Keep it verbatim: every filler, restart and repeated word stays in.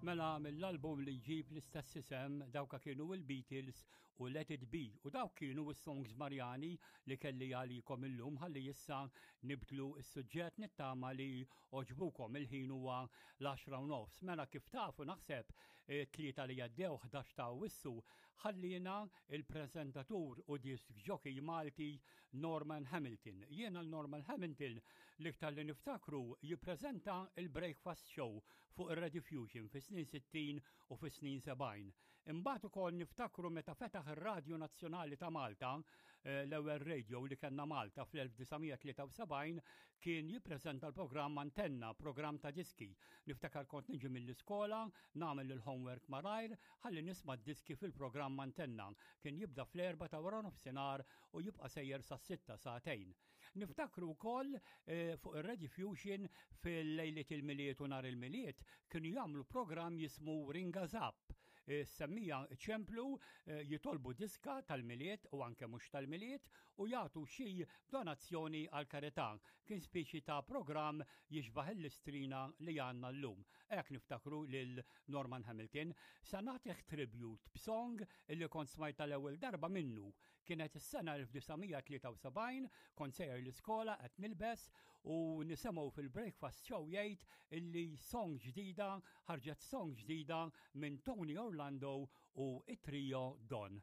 Mela mill-album li jġib l-istess isem, dawka kienu il-Beatles u Let It Be, u dawk kienu s-songs Marjani li kelli għalikom illum. Ħalli issa nibdlu s-suġġett, nittama li għoġbukom. Il-ħin huwa l-għaxra u nofs. Mela kif tafu, naħseb eh, tlieta li għaddew, ħdax ta' Awwissu, ħallina il-prezentatur u disc jockey Malti Norman Hamilton. Jiena l-Norman Hamilton l-iktar li niftakru jippreżenta il-Breakfast Show fuq ir-Rediffusion fi snin sittin u fi snin sebgħin. Imbagħad ukoll niftakru meta fetaħ ir-Radju Nazzjonali ta' Malta, eh, l-ewwel radio li kellna Malta fl-elf disa' mija tlieta u sebgħin, kien jippreżenta l-programm Antenna, programm ta' diski. Niftakar kont niġi mill-iskola, nagħmel il-homework malajr, ħalli nisma' diski fil-programm Antenna. Kien jibda fl-erba ta' wara nofsinhar u jibqa' sejjer sa' sitta, sagħtejn. Niftakru wkoll eh, fuq ir-Rediffusion fil-lejliet il-Milied u nhar il-Milied kienu jagħmlu programm jismu Ringa Zap. Eh, semmija ċemplu, eh, jitolbu diska tal-Milied u anke mhux tal-Milied u jagħtu xi donazzjoni għal karità. Kien speċi ta' programm jixbaħ l-Istrina li għandna llum. Hekk niftakru lil Norman Hamilton. Sa nagħtih tribute b'song illi kont smajta l-ewwel darba minnu. Kienet is-sena elf disa' mija tlieta u sebgħin, kont sejjer l-iskola qed nilbes u nisimgħu fil-Breakfast Show jgħid illi song ġdida, ħarġet song ġdida minn Tony Orlando u it-trio Don.